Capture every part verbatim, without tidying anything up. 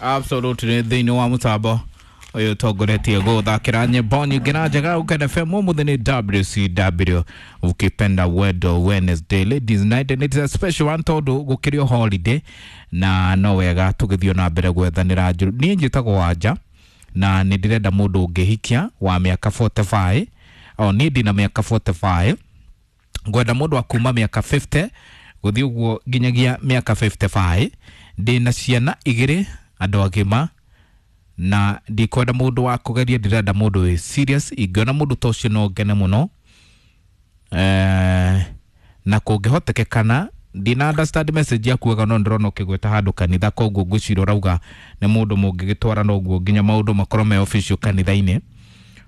Absolutely thĩinĩ wa mũtambo ũyũ ũtongoretie gũthakĩra nyĩmbo nyingĩ na njega Ũkene F M. Ũmũthĩ nĩ W C W, ukipenda Wedo Wednesday, Ladies Night, and it's a special one tondũ gũkĩrĩ o holiday na no wega tũgĩthiĩ na mbere gwethanĩra njũru. Niĩ njĩtagwo Wanja na nĩ ndĩrenda mũndũ ũngĩhikia wa mĩaka mĩrongo ĩna na ĩtano. O niĩ ndĩna mĩaka mĩrongo ĩna na ĩtano, ngwenda mũndũ wa kuma mĩaka mĩrongo ĩnana gũthiĩ ũguo nginyagia mĩaka mĩrongo ĩtano na ĩtano. Ndĩna ciana igĩrĩ, andũ agima, na ndikwenda mũndũ wa kũgeria, ndĩrenda mũndũ wĩ serious. Ingĩona mũndũ ta ũcio no ngene mũno. eh, na kũngĩhotekekana, ndina understand message yaku wega, no ndĩrona ũkĩgweta handũ kanitha, koguo ngwĩciria ũrauga nĩ mũndũ mũngĩgĩtwarana ũguo nginya maũndũ makorwo me official kanitha-inĩ.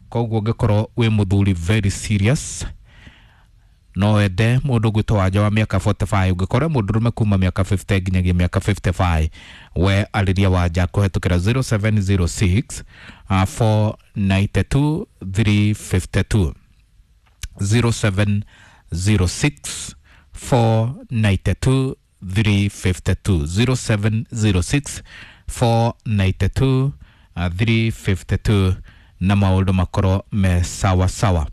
Koguo ũngĩkorwo wĩ mũthuri very serious, no wende mũndũ gwĩtwo Wanja wa mĩaka mĩrongo ĩna na ĩtano. Ũngĩkorwo mũndũrũme kuma mĩaka mĩrongo ĩnana nginyagia mĩaka mĩrongo ĩtano na ĩtano, we arĩria Wanja kũhetũkĩra zero seven zero six uh, four nine two three five two, zero seven zero six four nine two three five two, zero seven zero six four nine two uh, three five two, na maũndũ makorwo me sawa sawa.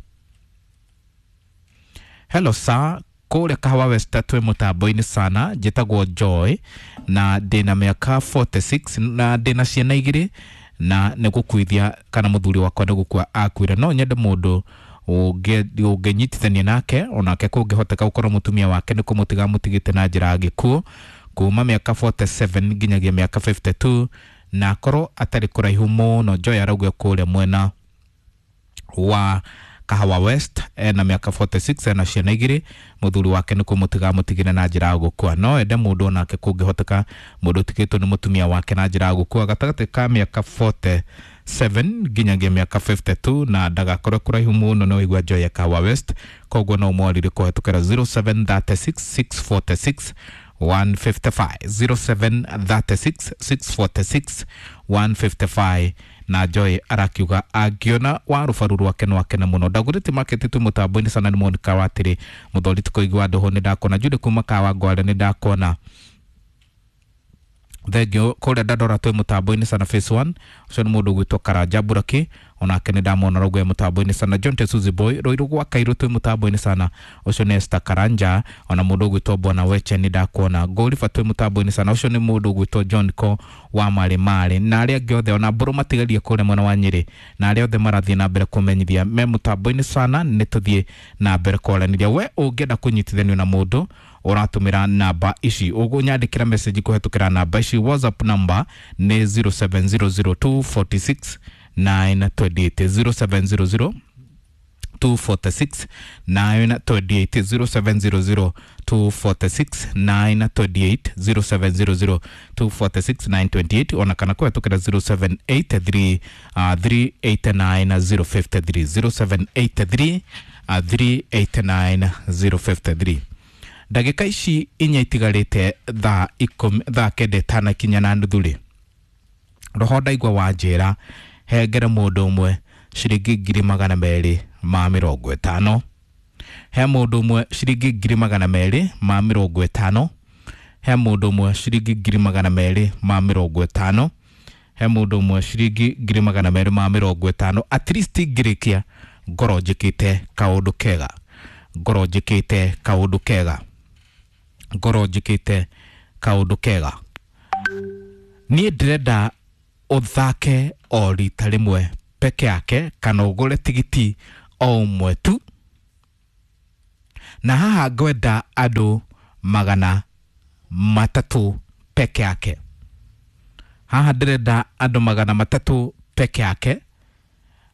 Hello sir, kũrĩa Kahawa West twĩ mũtambo-inĩ sana. Njĩtagwo Joy na ndĩna mĩaka mĩrongo ĩna na ithathatũ na ndĩna ciana igĩrĩ na nĩ gũkuithia kana mũthuri wakwa nĩ gũkua akuire. No nyende mũndũ ũngĩnyitithania nake, onake kũngĩhoteka gũkorwo mũtumia wake nĩ kũmũtiga mũtigĩte na njĩra ya gĩkuũ, kuma mĩaka mĩrongo ĩna na mũgwanja nginyagia mĩaka mĩrongo ĩtano na igĩrĩ, na akorwo atarĩ kũraihu mũno. Joy arauga kũrĩa mwena wa Kahawa West, ena mĩaka mĩrongo ĩna na ithathatũ, ena ciana igĩrĩ, mũthuri wake nĩ kũmũtiga mũtigire na njĩra ya gũkua. No ende mũndũ onake kũngĩhoteka mũndũ ũtigĩtwo nĩ mũtumia wake na njĩra ya gũkua, gatagatĩ ka mĩaka mĩrongo ĩna na mũgwanja nginyagia mĩaka mĩrongo ĩtano na igĩrĩ, na ndagakorwo kũraihu mũno. No igua Joy ya Kahawa West, koguo no mwarire kũhetũkĩra zero seven three six six four six one five five, zero seven three six six four six one five five. Na Joy arakiuga angĩona wa rũbaru rwake no akene mũno. Ndagũrĩte market twĩ mũtambo-inĩ sana. Nĩ Monica watĩrĩ mũthori tũkũigua ndũhũ. Nĩ ndakona Judy kuma Kawa Ngware, nĩ ndakona, thengio. Kũrĩa ndandora twĩ mũtambo-inĩ sana, phase one. Ũcio nĩ mũndũ ũgwĩtwo Karanja Buraki, onake nĩ ndamwona rauga mũtambo-inĩ sana. John Tesuzi Boy Rũirũ gwa Kairũ twĩ mũtambo-inĩ sana. Ũcio nĩ Esther Karanja. Ona mũndũ ũgwĩtwo Bwana Weche nĩ ndakuona. Ngũriba twĩ mũtambo-inĩ sana. Ũcio nĩ mũndũ ũgwĩtwo John Ko wa Marĩ Marĩ, na arĩa angĩ othe, ona mbũrũ matigarie kũrĩa mwena wa Nyĩrĩ, na arĩa othe marathiĩ na mbere kũmenyithia me mũtambo-inĩ sana. Nĩ tũthiĩ na mbere kwaranĩria. We ũngĩenda kũnyitithanio na mũndũ, ũratũmĩra namba ici, ũgũnyandĩkĩra message kũhetũkĩra namba ici. WhatsApp number nĩ zero seven zero zero two four six nine two eight, zero seven zero zero two four six nine two eight, zero seven zero zero two four six nine two eight, zero seven zero zero two four six nine two eight, ona kana kũhetũkĩra zero seven eight three uh, three eight nine zero five three, zero seven eight three uh, three eight nine zero five three. Ndagĩka ici inya itigarĩte thaa ikũmi, thaa kenda ĩtanakinya na nuthu rĩ, roho ndaigua wanjĩra hengere mũndũ ũmwe ciringi ngiri magana merĩ ma mĩrongo ĩtano. He mũndũ ũmwe ciringi ngiri magana merĩ ma mĩrongo ĩtano. He mũndũ ũmwe ciringi ngiri magana merĩ ma mĩrongo ĩtano. He mũndũ ũmwe ciringi ngiri magana merĩ ma mĩrongo ĩtano. At least ngĩrĩkia ngorwo njĩkĩte kaũndũ kega, ngorwo njĩkĩte kaũndũ kega, ngorwo njĩkĩte kaũndũ kega. Niĩ ndĩrenda ũthake o rita rĩmwe peke yake kana ũgũre tigiti o ũmwe tu, na haha ngwenda andũ magana matatũ peke yake. Haha ndĩrenda andũ magana matatũ peke yake.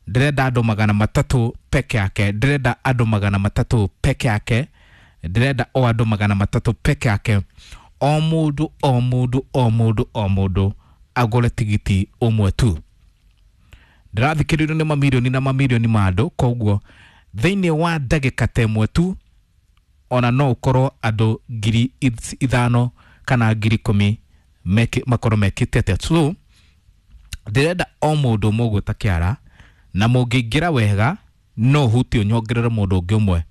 Ndĩrenda andũ magana matatũ peke yake. Ndĩrenda andũ magana matatũ peke yake. Ndĩrenda o andũ magana matatũ peke yake. O mũndũ, o mũndũ, o mũndũ, o mũndũ agũre tigiti ũmwe tu. Ndĩrathikĩrĩrio nĩ mamirioni na mamirioni ma andũ, koguo thĩinĩ wa ndagĩka ta ĩmwe tu ona no ũkorwo andũ ngiri ithano kana ngiri ikũmi makorwo mekĩte atĩa. So ndĩrenda o mũndũ ũmwe ũguo ta kĩara, na mũngĩingĩra wega no hutie ũnyongerere mũndũ ũngĩ ũmwe.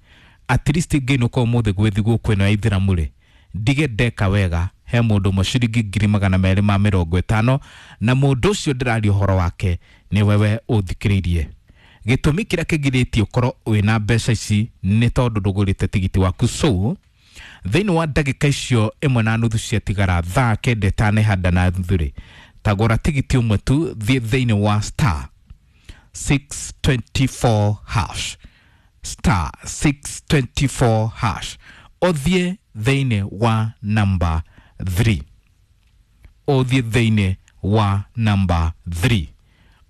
At least ngĩinũka ũmũthĩ gwĩ thigũkũ ĩno ya ithĩramu rĩ, ndige ndeka wega. he mũndũ ũmwe ciringi ngiri magana merĩ ma mĩrongo ĩtano, na mũndũ ũcio ndĩraria ũhoro wake nĩ wewe ũthikĩrĩirie. Gĩtũmi kĩrĩa kĩgirĩtie ũkorwo wĩna mbeca ici nĩ tondũ ndũgũrĩte tigiti waku. So thĩinĩ wa ndagĩka icio ĩmwe na nuthu ciatigara thaa kenda ĩtanehanda na nuthu rĩ, tagũra tigiti ũmwe tu, thiĩ thĩinĩ wa star six twenty four hash, star six twenty four hash, ũthiĩ thĩinĩ wa namba three, ũthiĩ thĩinĩ wa namba three,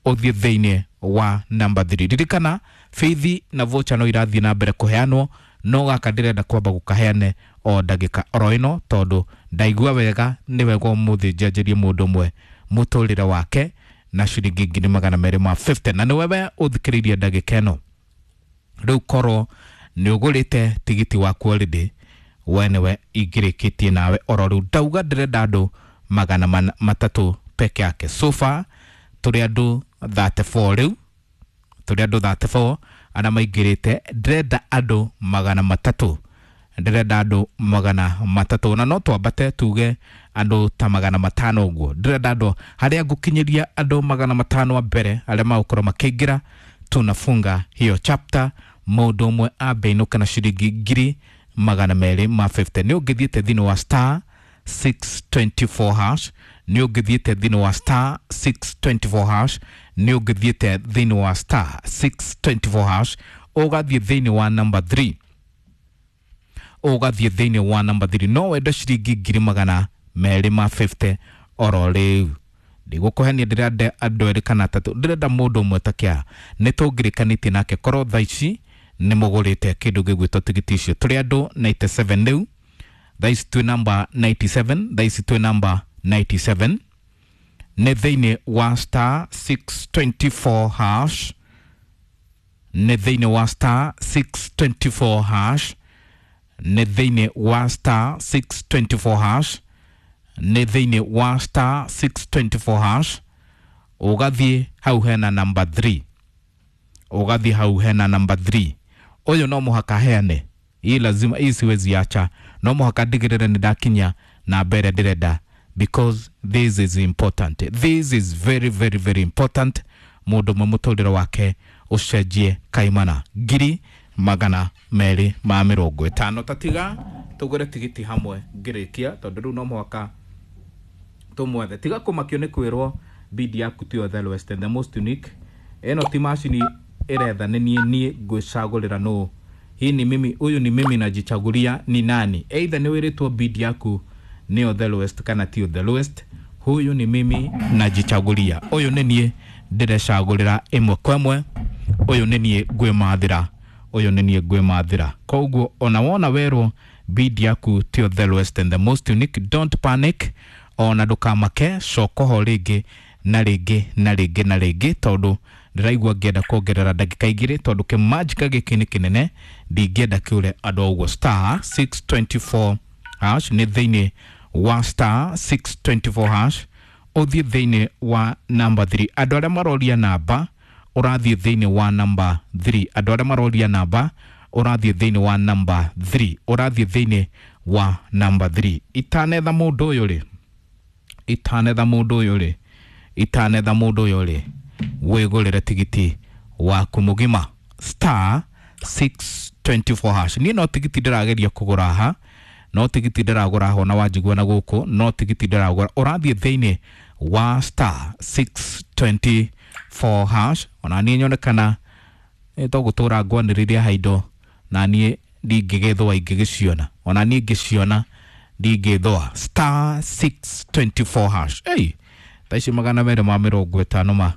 ũthiĩ thĩinĩ wa namba three. Ririkana bithi na voucher no irathiĩ na mbere kũheanwo, no gaka ndĩrenda kwamba gũkaheane o ndagĩka oro ĩno, tondũ ndaigua wega nĩ wega ũmũthĩ njanjĩrie mũndũ ũmwe mũtũrĩre wake na ciringi ngiri magana merĩ ma fifty, na nĩ wewe ũthikĩrĩirie ndagĩka ĩno. Rĩu korwo nĩ ũgũrĩte tigiti waku already, we nĩwe ingĩrĩkĩtie nawe oro rĩu. Ndauga ndĩrenda andũ magana matatũ peke yake. So far tũrĩ andũ thirty four rĩu, tũrĩ andũ thirty four arĩa maingĩrĩte. Ndĩrenda andũ magana matatũ, ndĩrenda andũ magana matatũ, na no twambate tuge andũ ta magana matano ũguo. Ndĩrenda andũ harĩa ngũkinyĩria andũ magana matano a mbere arĩa magũkorwo makĩingĩra, tunafunga hiyo chapter. Mũndũ ũmwe ambe inũke na ciringi ngiri magana merĩ ma fifty. Nĩ ũngĩthiĩte thĩinĩ wa star six twenty four hash, nĩ ũngĩthiĩte thĩinĩ wa star six twenty four hash, nĩ ũngĩthiĩte thĩinĩ wa star six twenty four hash, ũgathiĩ thĩinĩ wa number three, ũgathiĩ thĩinĩ wa number three. No wende ciringi ngiri magana merĩ ma fifty oro rĩu. Ndigũkũhenia, ndĩrenda andũ erĩ kana atatũ, ndĩrenda mũndũ ũmwe ta kĩa nĩ tũngĩrĩkanĩtie nake korwo thaa ici nĩ mũgũrĩte kĩndũ gĩgwĩtwo tigiti icio. Tũrĩ andũ ninety seven rĩu, thaa ici twĩ namba ninety seven, thaa ici twĩ namba ninety seven. Nĩ thĩinĩ wa star six twenty four hash, nĩ thĩinĩ wa star six twenty four hash, nĩ thĩinĩ wa star six twenty four hash, nĩ thĩinĩ wa star six twenty four hash, ũgathiĩ hau hena number three, ũgathiĩ hau hena number three. Ũyũ no mũhaka heane, hii lazima, hii siwezi acha, no mũhaka ndigĩrĩre nĩ ndakinya na mbere ndĩrenda, because this is important, this is very very very important. Mũndũ ũmwe mũtũrĩre wake ũcenjie kaimana ngiri magana merĩ ma mĩrongo ĩtano. Tatiga tũgũre tigiti hamwe ngĩrĩkia, tondũ rĩu no mũhaka tũmwethe. Tiga kũmakio nĩ kwĩrwo bid yaku tiyo the lowest and the most unique. Ĩno ti macini ĩretha nĩ niĩ, niĩ ngwĩcagũrĩra nũ. Hii ni mimi, huyu ni mimi najichagulia ni nani. Either nĩ wĩrĩtwo bid yaku nĩyo the lowest kana tiyo the lowest. Huyu ni mimi najichagulia, ũyũ nĩ niĩ ndĩrecagũrĩra ĩmwe kwa ĩmwe, ũyũ nĩ niĩ ngwĩmathĩra, ũyũ nĩ niĩ ngwĩmathĩra. Koguo ona wona werwo bid yaku tiyo the lowest and the most unique, don't panic, ona ndũkamake, coka ho rĩngĩ na rĩngĩ na rĩngĩ na rĩngĩ, tondũ ndĩraigua ngĩenda kuongerera ndagĩka igĩrĩ, tondũ kĩmanjika gĩkĩ nĩ kĩnene, ndingĩenda kĩũre andũ ũguo. Star six twenty four hash nĩ thĩinĩ wa star six twenty four hash, ũthiĩ thĩinĩ wa number three. Andũ arĩa maroria namba, ũrathiĩ thĩinĩ wa number three. Andũ arĩa maroria namba, ũrathiĩ thĩinĩ wa number three, ũrathiĩ thĩinĩ wa number three. Itanetha mũndũ ũyũ rĩ, itanetha mũndũ ũyũ rĩ, itanetha mũndũ ũyũ rĩ, wĩgũrĩre tigiti waku mũgima star six twenty four hash. Niĩ no tigiti ndĩrageria kũgũra haha, no tigiti ndĩragũra haha, ona wanjigua na gũkũ no tigiti ndĩragũra. Ũrathiĩ thĩinĩ wa star six twenty four hash. Ona niĩ nyone kana nĩ tũgũtũra ngwanĩrĩria haha indo, na niĩ ndingĩgĩthũa ingĩgĩciona, ona niĩ ngĩciona ndingĩthũa. Star six twenty four hash. Ei, thaa ici magana merĩ ma mĩrongo ĩtano ma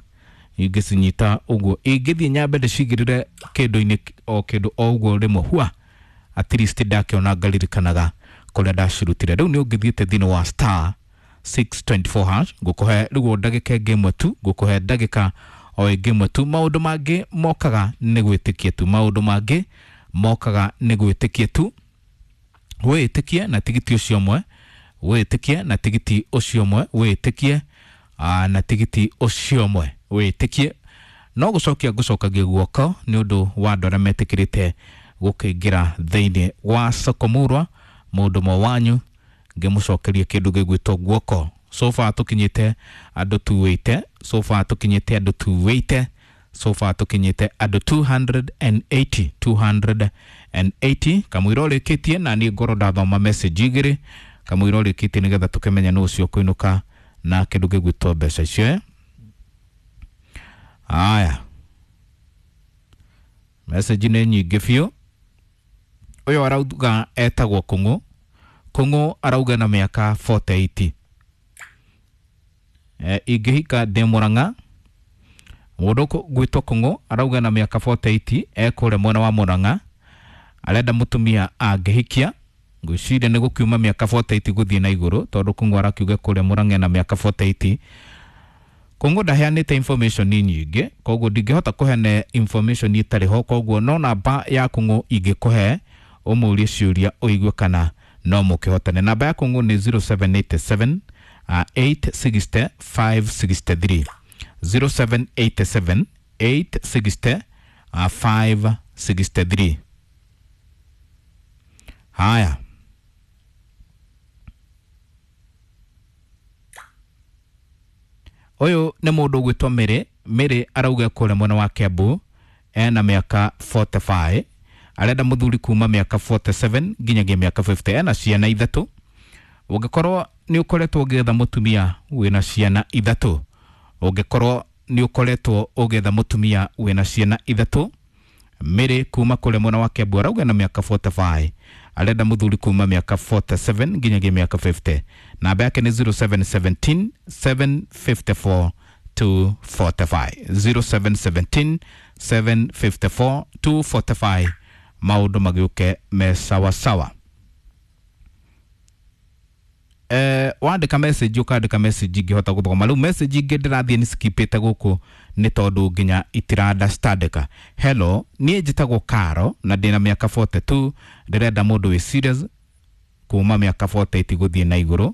ingĩcinyita ũguo, ingĩthiĩ nyambe ndĩcigĩrĩre kĩndũ-inĩ o kĩndũ o ũguo rĩmwe, hua at least ndakĩona ngaririkanaga kũrĩa ndacirutire. Rĩu nĩ ũngĩthiĩte thĩinĩ wa star six twenty four hash, ngũkũhe rĩu o ndagĩka ĩngĩ ĩmwe tu, ngũkũhe ndagĩka o ĩngĩ ĩmwe tu. Maũndũ mangĩ mokaga nĩ gwĩtĩkia tu, maũndũ mangĩ mokaga nĩ gwĩtĩkia tu. Wĩtĩkie na tigiti ũcio ũmwe, wĩtĩkie na tigiti ũcio ũmwe, wĩtĩkie na tigiti ũcio ũmwe, wĩtĩkie. No gũcokia ngũcokagia guoko nĩ ũndũ wa andũ arĩa metĩkĩrĩte gũkĩingĩra thĩinĩ wa soko murwa. Mũndũ ũmwe wanyu Ngĩmũcokeria kĩndũ gĩgwĩtwo guoko. So far tũkinyĩte andũ two eighty, so far tũkinyĩte andũ two eighty, so far tũkinyĩte andũ two hundred and eighty, two hundred and eighty. Kamũira ũrĩkĩtie na niĩ ngorwo ndathoma message igĩrĩ, kamũira ũrĩkĩtie nĩgetha tũkĩmenye nũ ũcio ũkũinũka na kĩndũ gĩgwĩtwo mbeca icio, eh? Aya, message nĩ nyingĩ biũ. Ũyũ arauga etagwo Kũng'ũ. Kũng'ũ arauga na mĩaka forty eight. Eh, ingĩhika ndĩ Mũrang'a. Mũndũ gwĩtwo Kũng'ũ arauga na mĩaka forty eight, ekũrĩa mwena wa Mũrang'a, arenda mũtumia angĩhikia. Ngwĩciria nĩ gũkiuma mĩaka forty eight gũthiĩ na igũrũ, tondũ Kũng'ũ arakiuga kũrĩa Mũrang'a ena mĩaka forty eight. Kũng'ũ ndaheanĩte information nyingĩ, koguo ndingĩhota kũheana information ĩtarĩ ho, koguo no namba ya Kũng'ũ ingĩkũhe ũmũrie ciũria ũigue kana no mũkĩhotane. Namba ya Kũng'ũ nĩ zero seven eight seven, uh, eight sixty five sixty three. zero seven eight seven, eight sixty, uh, five sixty three. Haya, ũyũ nĩ mũndũ ũgwĩtwo Mary. Mary arauga kũrĩa mwena wa Kiambu, ena mĩaka forty five, arenda mũthuri kuma mĩaka forty seven nginyagia mĩaka fifty, ena ciana ithatũ. Ũngĩkorwo nĩ ũkoretwo ũgĩetha mũtumia wĩna ciana ithatũ, ũngĩkorwo nĩ ũkoretwo ũgĩetha mũtumia wĩna ciana ithatũ, Mary kuma kũrĩa mwena wa Kiambu arauga na mĩaka forty five, arenda mũthuri kuma mĩaka forty seven nginyagia mĩaka fifty. Namba yake nĩ zero seven seventeen, seven fifty four, two forty five. zero seven seventeen, seven fifty four, two forty five. Maũndũ magĩũke me sawa sawa. Eh, wandĩka message ũkandĩka message ingĩhota gũthoma. Rĩu message ingĩ ndĩrathiĩ nĩ skipĩte gũkũ nĩ tondũ nginya itira understandĩka. Hello, niĩ njĩtagwo Karo na ndĩna mĩaka forty two, ndĩrenda mũndũ wĩ serious kuma mĩaka forty eight gũthiĩ na igũrũ.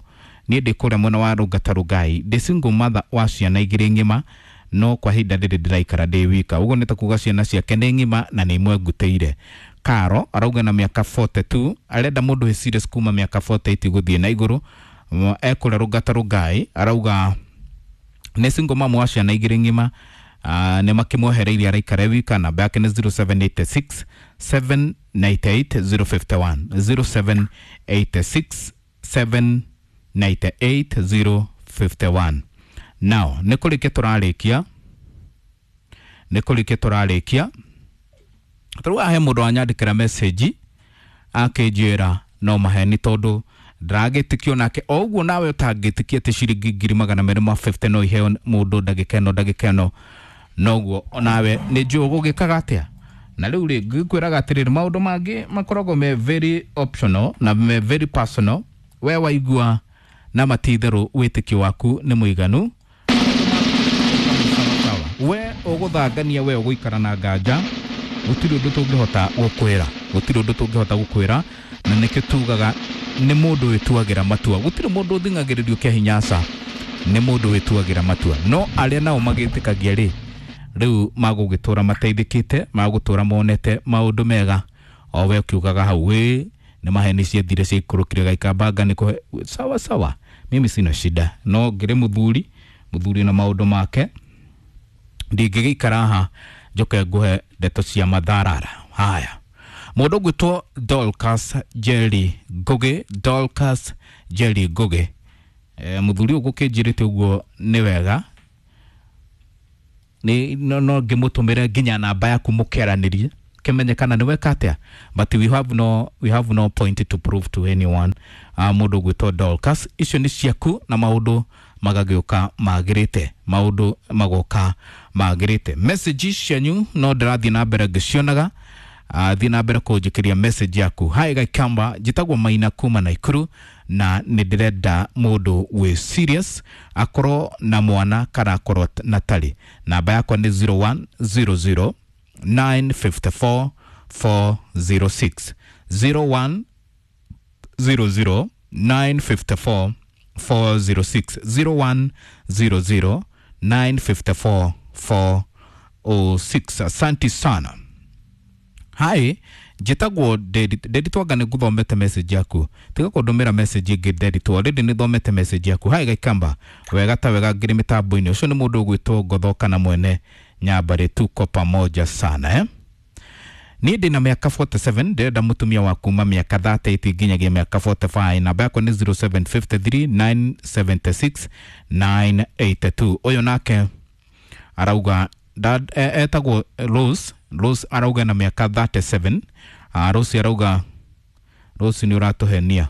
Niĩ ndĩ kũrĩa mwena wa Rũngata Rũngai, ndĩ single mother wa ciana igĩrĩ ng'ima, no kwa ihinda rĩrĩ ndĩraikara ndĩ wika. Ũguo nĩ ta kuga ciana ciake nĩ ng'ima na nĩ imwe ngutĩire. Karo arauga na mĩaka forty two, arenda mũndũ wĩ serious kuma mĩaka forty eight gũthiĩ na igũrũ. Ekũrĩa Rũngata Rũngai, arauga nĩ single mom wa ciana igĩrĩ ng'ima, ah, nĩ makĩmwehereirie araikara wika. Namba yake nĩ zero seven eight six, seven ninety eight, zero fifty one. zero seven eight six, seven ninety eight, zero fifty one. Now, nĩ kũrĩkia tũrarĩkia, nĩ kũrĩkia tũrarĩkia. Tarĩu haha he mũndũ wanyandĩkĩra message akĩnjĩra no maheni tondũ ndĩragĩtĩkio nake. O ũguo nawe ũtangĩtĩkia atĩ ciringi ngiri magana merĩ ma fifty no iheo mũndũ ndagĩka ĩno ndagĩka ĩno, noguo onawe nĩ njũĩ ũgũgĩkaga atĩa. Na rĩu rĩ, ngĩkwĩraga atĩrĩrĩ, maũndũ mangĩ makoragwo me very optional na me very personal. We waigua na matitherũ wĩtĩkio waku nĩ mũiganu, we ũgũthangania, we ũgũikara na nganja, gũtirĩ ũndũ tũngĩhota gũkwĩra, gũtirĩ ũndũ tũngĩhota gũkwĩra. Na nĩkĩo tugaga nĩ mũndũ wĩtuagĩra matua, gũtirĩ mũndũ ũthing'agĩrĩrio kĩa hinya, aca, nĩ mũndũ wĩtuagĩra matua. No arĩa nao magĩtĩkagia rĩ, rĩu magũgĩtũra mateithĩkĩte, magũtũra monete maũndũ mega. O we ũkiugaga hau, wĩ nĩ maheni ciethire ciaikũrũkire gaikambanga nĩ kũhe sawa sawa, mimi sina shida. No ngĩrĩ mũthuri, mũthuri na maũndũ make, ndingĩgĩikara haha njoke ngũhe ndeto cia matharara. Haya, mũndũ ũgwĩtwo Dorcas Jerry Ngugi, Dorcas Jerry Ngugi, eh, mũthuri ũyũ gũkĩnjĩrĩte ũguo nĩ wega, nĩ no, no ngĩmũtũmĩre nginya namba yaku mũkĩaranĩrie kĩmenye kana nĩ weka atĩa, but we have no, we have no point to prove to anyone. Uh, mũndũ ũgwĩtwo Dorcas, icio nĩ ciaku na maũndũ magagĩũka magĩrĩte, maũndũ magoka magĩrĩte. Message cianyu no ndĩrathiĩ na mbere ngĩcionaga. Uh, thiĩ na mbere kũnjĩkĩria message yaku. Hi Gaikamba, njĩtagwo Maina kuma Naikuru na nĩ ndĩrenda mũndũ wĩ serious, akorwo na mwana kana akorwo na tarĩ. Namba yakwa nĩ zero one zero zero nine fifty four four zero six. zero one zero zero nine fifty four four zero six. zero one zero zero nine fifty four four oh six. Asante sana. Hi, Njĩtagwo Nderitu, anga nĩ ngũthomete message yaku, tiga kũndũmĩra message ĩngĩ Nderitu, already nĩ thomete message yaku. Hai Gaikamba, wega ta wega ngĩrĩ mĩtambo-inĩ. Ũcio nĩ mũndũ ũgwĩtwo Ngotho kana mwene Nyambarĩ, tuko pamoja sana eh? Niĩ ndĩna mĩaka forty-seven, ndĩrenda mũtumia wa kuma mĩaka thirty-eight nginyagia mĩaka forty-five. Namba yakwa nĩ zero seven five three nine seven six nine eight two. Ũyũ nake arauga dad, e, etagwo Rose. Rose arauga na mĩaka thirty-seven. Ah, Rose arauga, Rose nĩ ũratũhenia,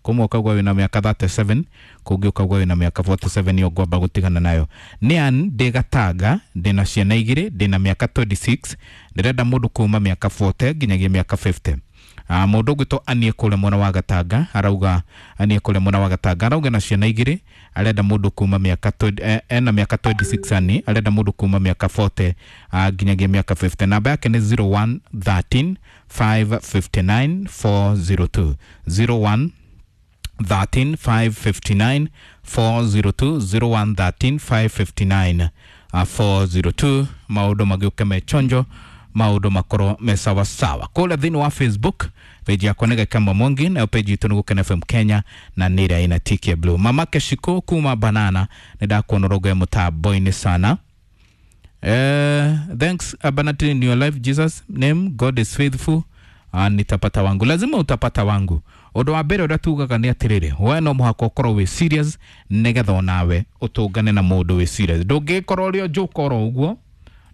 kũmwe ũkauga wĩna mĩaka thirty-seven, kũngĩ ũkauga wĩna mĩaka forty-seven, ĩyo ngwamba gũtigana nayo. Nĩ Ann, ndĩ Gatanga, ndĩna ciana igĩrĩ, ndĩna mĩaka twenty-six, ndĩrenda mũndũ kuma mĩaka forty nginyagia mĩaka fifty. Ah, mũndũ ũgwĩtwo Anie kũrĩa mwena wa Gatanga arauga, Anie kũrĩa mwena wa Gatanga arauga na ciana igĩrĩ, arenda mũndũ kuma mĩaka twenty, eh, ena mĩaka twenty-six Ani, arenda mũndũ kuma mĩaka forty, ah, nginyagia mĩaka fifty. Namba yake nĩ zero one thirteen five fifty-nine four zero two, zero one thirteen five fifty-nine four zero two, zero one thirteen five fifty-nine four zero two. Maũndũ magĩũke me chonjo, maũndũ makorwo me sawa sawa. Kũrĩa thĩinĩ wa Facebook page yakwa nĩ Gaikamba Mwangi, nayo page itũ nĩ Gũkena F M Kenya, na nĩ ĩrĩa ĩna tiki ya blue. Mama Keshiko kuma Banana, nĩ ndakuona ũrongo ya mũtambo-inĩ sana. Eh, thanks abundantly in your life, Jesus name, God is faithful. Ah, nitapata wangu, lazima utapata wangu. Ũndũ wa mbere ũrĩa tugaga nĩ atĩrĩrĩ, we no mũhaka ũkorwo wĩ serious nĩgetha onawe ũtũngane na mũndũ wĩ serious. Ndũngĩkorwo ũrĩ o njũka oro ũguo,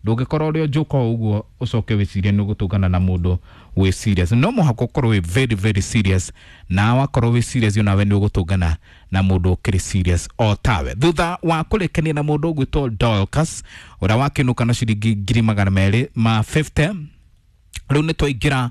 ndũngĩkorwo ũrĩ o njũka o ũguo ũcoke wĩcirie nĩ ũgũtũngana na mũndũ wĩ serious. No mũhaka ũkorwo wĩ very very serious, na wakorwo wĩ serious onawe nĩ ũgũtũngana na mũndũ ũkĩrĩ serious o tawe. Thutha wa kũrĩkania na mũndũ ũgwĩtwo Dorcas ũrĩa wakĩnũka na ciringi ngiri magana merĩ ma fifty, rĩu nĩ twaingĩra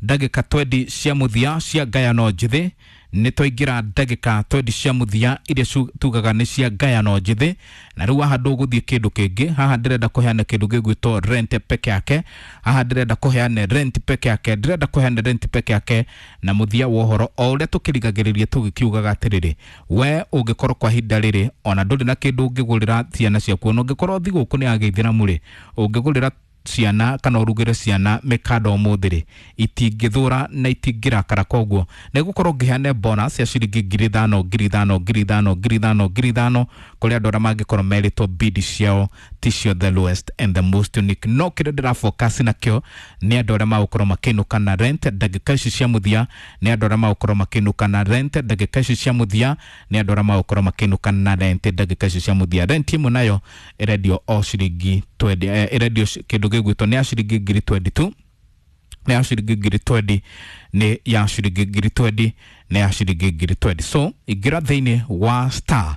ndagĩka twenty cia mũthia cia ngayano njĩthĩ. Nĩ twaingĩra ndagĩka twenty cia mũthia iria tugaga nĩ cia ngayano njĩthĩ. Na rĩu haha ndũgũthiĩ kĩndũ kĩngĩ, haha ndĩrenda kũheana kĩndũ gĩgwĩtwo rent peke yake, haha ndĩrenda kũheana rent peke yake, ndĩrenda kũheana rent peke yake. Na mũthia wa ũhoro o ũrĩa tũkĩrigagĩrĩria tũgĩkiugaga atĩrĩrĩ, we ũngĩkorwo kwa ihinda rĩrĩ ona ndũrĩ na kĩndũ ũngĩgũrĩra ciana ciaku, ona ũngĩkorwo thigũkũ nĩ ya gĩithĩramu rĩ, ũngĩgũrĩra ciana kana ũrugĩre ciana mĩkanda ũmũthĩ rĩ, itingĩthũra na itingĩrakara. Koguo nĩ gũkorwo ngĩheana bonus ya ciringi ngiri ithano, ngiri ithano, ngiri ithano, ngiri ithano, ngiri ithano kũrĩ andũ arĩa mangĩkorwo merĩtwo bid ciao ticio the lowest and the most unique. No kĩrĩa ndĩra focus nakĩo nĩ andũ arĩa magũkorwo makĩinũka na rent ndagĩka ici cia mũthia, nĩ andũ arĩa magũkorwo makĩinũka na rent ndagĩka ici cia mũthia, nĩ andũ arĩa magũkorwo makĩinũka na rent ndagĩka ici cia mũthia. Rent ĩmwe nayo ĩrendio o ciringi twenty, eh, ĩrendio kĩndũ gĩgwĩtwo nĩ ya ciringi ngiri twenty-two, nĩ ya ciringi ngiri twenty, nĩ ya ciringi ngiri twenty, nĩ ya ciringi ngiri twenty. So ingĩra thĩinĩ wa star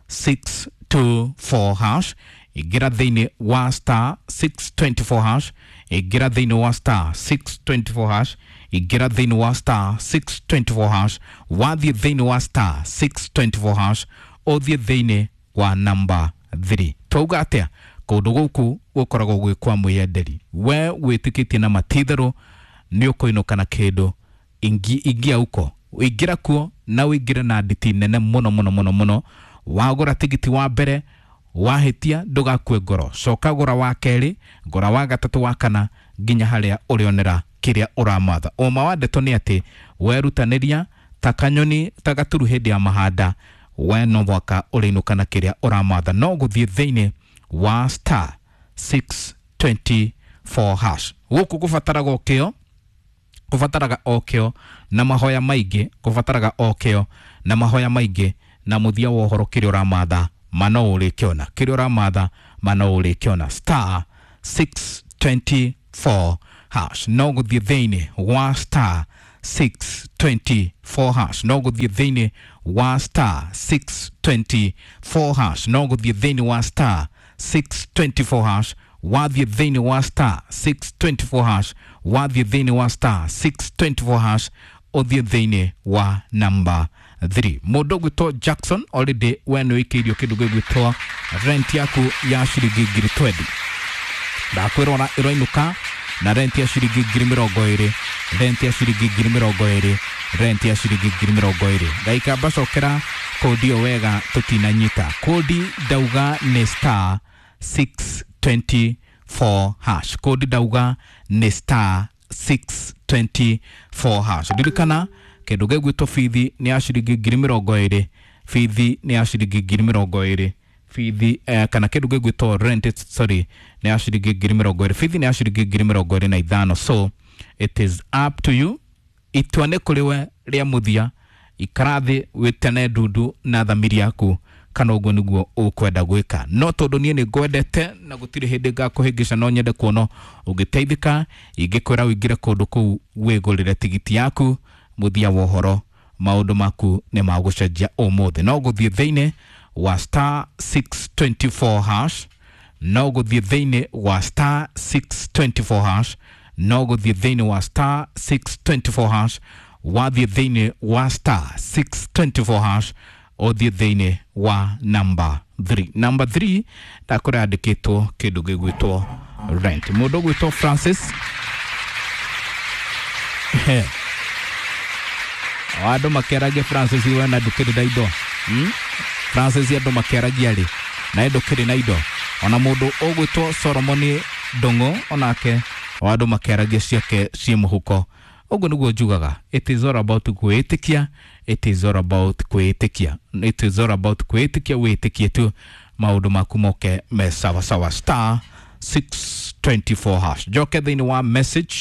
six two four hash, ingĩra thĩinĩ wa star six twenty-four hash, ingĩra thĩinĩ wa star six twenty-four hash, ingĩra thĩinĩ wa star six twenty-four hash, wathiĩ thĩinĩ wa star six twenty-four hash, ũthiĩ thĩinĩ wa number three. Twauga atĩa? Kũndũ gũkũ gũkoragwo gwĩ kwa mwĩyenderi. We wĩtĩkĩtie na matitherũ nĩ ũkũinũka na kĩndũ, ingia uko, ingĩra kuo na ũingĩre na nditi nene mũno mũno mũno mũno. Wagũra tigiti wa mbere wahĩtia ndũgakue ngoro, coka gũra wa kerĩ, gũra wa gatatũ, wa kana, nginya harĩa ũrĩonera kĩrĩa ũramatha. Ũma wa ndeto nĩ atĩ werutanĩria ta kanyoni ta gaturu hĩndĩ ya mahanda, we no mwaka ũrĩinũka na kĩrĩa ũramatha. No gũthiĩ thĩinĩ wa star six twenty-four hash. Gũkũ gũbataraga o kĩo, kũbataraga o kĩo na mahoya maingĩ, kũbataraga o kĩo na mahoya maingĩ, na mũthia wa ũhoro kĩrĩa ũramatha ma no ũrĩkĩona, kĩrĩa ũramatha ma no ũrĩkĩona. Star six twenty-four hash. No gũthiĩ thĩinĩ wa star six twenty-four hash, no gũthiĩ thĩinĩ wa star six twenty-four hash, no gũthiĩ thĩinĩ wa star six twenty-four hash, wathiĩ thĩinĩ wa star six twenty-four hash, wathiĩ thĩinĩ wa star six twenty-four hash, ũthiĩ thĩinĩ wa number three. Mũndũ ũgwĩtwo Jackson already we nĩ ũikĩirio kĩndũ gĩgwĩtwo rent yaku ya ciringi ngiri twenty. Ndakwĩrora ĩroinũka na rent ya ciringi ngiri mĩrongo ĩrĩ, rent ya ciringi ngiri mĩrongo ĩrĩ, rent ya ciringi ngiri mĩrongo ĩrĩ. Ngaikamba cokera kodi ĩyo wega tũtinanyita. Kodi ndauga nĩ star six twenty-four hash. Kodi ndauga nĩ star six twenty-four hash. Ririkana kĩndũ gĩgwĩtwo bithi nĩ ya ciringi ngiri mĩrongo ĩrĩ, bithi nĩ ya ciringi ngiri mĩrongo ĩrĩ, bithi eh, kana kĩndũ gĩgwĩtwo rent, sorry, nĩ ya ciringi ngiri mĩrongo ĩrĩ, bithi nĩ ya ciringi ngiri mĩrongo ĩrĩ na ithano. So it is up to you, itua nĩ kũrĩ we rĩa mũthia. Ikara thĩ wĩtene ndundu na thamiri yaku kana ũguo nĩguo ũkwenda gwĩka. No tondũ niĩ nĩ ngwendete na gũtirĩ hĩndĩ ngakũhĩngĩca, no nyende kuona ũngĩteithĩka. Ingĩkwĩra ũingĩre kũndũ kũu wĩgũrĩre tigiti yaku, mũthia wa ũhoro maũndũ maku nĩ magũcenjia ũmũthĩ. No gũthiĩ thĩinĩ wa star six twenty-four hash, no gũthiĩ thĩinĩ wa star six twenty-four hash, no gũthiĩ thĩinĩ wa star six twenty-four hash, wathiĩ thĩinĩ wa star six twenty-four hash, ũthiĩ thĩinĩ wa number three. Number three ndakũrĩa yandĩkĩtwo kĩndũ gĩgwĩtwo rent. Mũndũ ũgwĩtwo Francis, andũ makĩaragia Francis we na ndũkĩrĩ na indo, hmm? Francis andũ makĩaragia rĩ na ndũkĩrĩ na indo. Ona mũndũ ũgwĩtwo Solomon Ndung'u onake andũ makĩaragia ciake ciĩ mũhuko. Ũguo nĩguo njugaga, it is all about kwĩĩtĩkia, it is all about kwĩĩtĩkia, it is all about kwĩĩtĩkia. Wĩĩtĩkie tu maũndũ maku moke me sawa sawa. Star six twenty-four hash. Njoke thĩinĩ wa message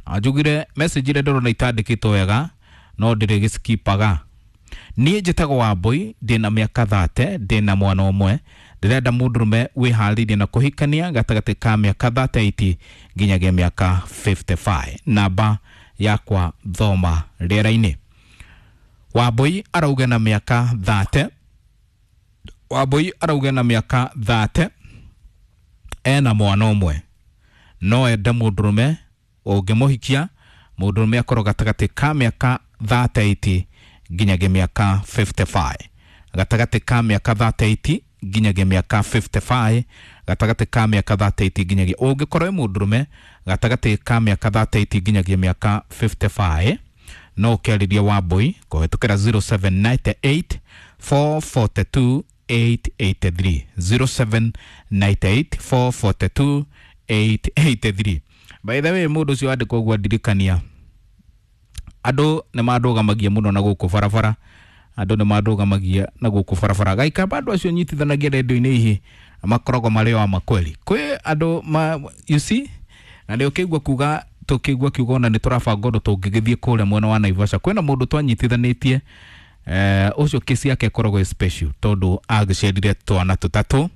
na njugire message ĩrĩa ndĩrona itandĩkĩtwo wega no ndĩrĩgĩskipaga. Niĩ njĩtagwo Wambui, ndĩna mĩaka thate, ndĩna mwana ũmwe, ndĩrenda mũndũrũme wĩharĩirie na kũhikania gatagatĩ ka mĩaka thirty-eight nginyagia mĩaka fifty-five. Namba yakwa thoma rĩera-inĩ. Wambui arauga na mĩaka thate, Wambui arauga na mĩaka thate, ena mwana ũmwe, no ende mũndũrũme ũngĩmũhikia, mũndũrũme akorwo gatagatĩ ka mĩaka thirty-eight nginyagia mĩaka fifty-five, gatagatĩ ka mĩaka thirty-eight nginyagia mĩaka fifty-five, gatagatĩ ka mĩaka thirty-eight nginyagia, ũngĩkorwo wĩ mũndũrũme gatagatĩ ka mĩaka thirty-eight nginyagia mĩaka fifty-five, no ũkĩarĩrie Wambui kũhĩtũkĩra zero seven nine eight four four two eight eight three, zero seven nine eight four four two eight eight three. By the way, mũndũ ũcio wandĩkwo ũguo ndirikania, andũ nĩ mandũgamagia mũno na gũkũ barabara, andũ nĩ mandũgamagia na gũkũ barabara. Gaikamba andũ acio nyitithanagia rendio-inĩ ihi makoragwo marĩ o makweli. Kwĩ andũ ma, you see, na nĩ ũkĩigua kuga tũkĩigua kiugo ona nĩ tũrabanga ũndũ tũngĩgĩthiĩ kũrĩa mwena wa Naivasha. Kwĩna mũndũ twanyitithanĩtie eh, ũcio kesi yake ĩkoragwo ĩ special tondũ agĩciarire twana tũtatũ.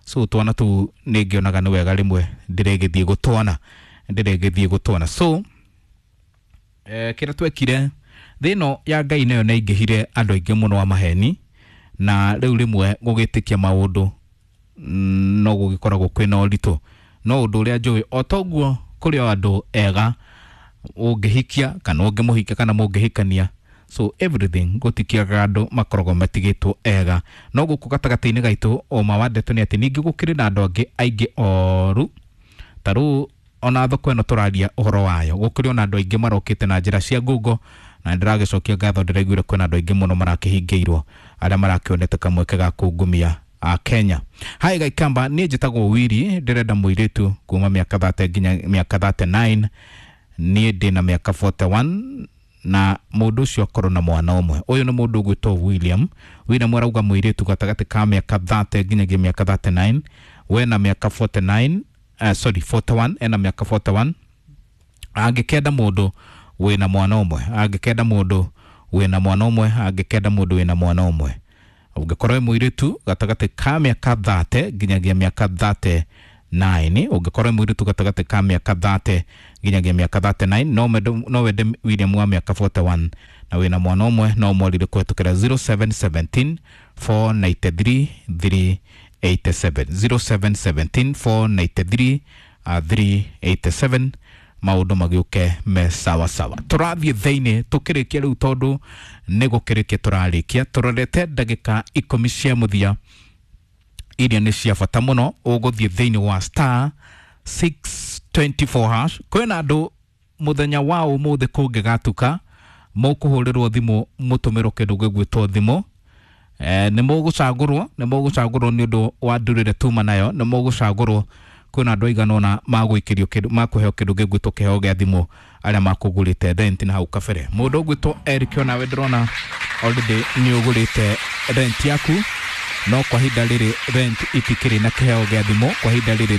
So twana tũu nĩ ngĩonaga nĩ wega rĩmwe ndĩregĩthiĩ gũtwana, ndĩregĩthiĩ gũtwana. So eh, kĩrĩa twekire thĩ ĩno ya Ngai nayo nĩ aingĩhire andũ aingĩ mũno a maheni, na rĩu rĩmwe gũgĩtĩkia maũndũ no gũgĩkoragwo kwĩna ũritũ. No ũndũ ũrĩa njũĩ o toguo kũrĩ o andũ ega ũngĩhikia kana ũngĩmũhikia kana mũngĩhikania, so everything gũtikiaga andũ makoragwo matigĩtwo ega. No gũkũ gatagatĩ-inĩ gaitũ ũma wa ndeto nĩ atĩ ningĩ gũkĩrĩ na andũ angĩ aingĩ oru. Ta rĩu ona thoko ĩno tũraria ũhoro wayo, gũkĩrĩ ona andũ aingĩ marokĩte na njĩra cia ngungo, na ndĩragĩcokia ngatho ndĩraiguire kwĩna andũ aingĩ mũno marakĩhingĩirwo arĩa marakĩonete kamweke ga kungumia a Kenya. Hai Gaikamba, niĩ njĩtagwo Wiri, ndĩrenda mũirĩtu kuma mĩaka thate nginya mĩaka thirty-nine, niĩ ndĩna mĩaka forty-one na mũndũ ũcio akorwo na mwana ũmwe. Ũyũ nĩ mũndũ ũgwĩtwo William. William arauga mũirĩtu gatagatĩ ka mĩaka thate nginyagia mĩaka thirty-nine, we na mĩaka forty-nine, uh, sorry forty-one, ena mĩaka forty-one, angĩkenda mũndũ wĩna mwana ũmwe, angĩkenda mũndũ wĩna mwana ũmwe, angĩkenda mũndũ wĩna mwana ũmwe. Ũngĩkorwo wĩ mũirĩtu gatagatĩ ka mĩaka thate nginyagia mĩaka thirty-nine, ũngĩkorwo wĩ mũirĩtu gatagatĩ ka mĩaka thate nginyagia mĩaka thirty-nine, no no wende William wa mĩaka forty-one na wĩna mwana ũmwe, no mwarire kũhetũkĩra zero seven seventeen four ninety-three three eighty-seven, zero seven seventeen four ninety-three three eighty-seven. Maũndũ magĩũke me sawa sawa. Tũrathiĩ thĩinĩ tũkĩrĩkia rĩu tondũ nĩ gũkĩrĩkia tũrarĩkia, tũrorete ndagĩka ikũmi cia mũthia iria nĩ cia bata mũno. Ũgũthiĩ thĩinĩ wa star six twenty-four hash. Kwĩna andũ mũthenya wa ũmũthĩ kũngĩgatuka mũkũhũrĩrwo thimũ mũtũmĩrwo kĩndũ gĩgwĩtwo thimũ. Eh, nĩ mũgũcagũrwo, nĩ mũgũcagũrwo nĩ ũndũ wa ndũrĩrĩ tuma nayo, nĩ mũgũcagũrwo Kwĩna andũ aigana ũna magũikĩrio kĩndũ, makũheo kĩndũ gĩgwĩtwo kĩheo gĩa thimũ, arĩa makũgũrĩte rent na hau kabere. Mũndũ ũgwĩtwo Eric, onawe ndĩrona already nĩ ũgũrĩte rent yaku, no kwa ihinda rĩrĩ rent itikĩrĩ na kĩheo gĩa thimũ kwa ihinda rĩrĩ.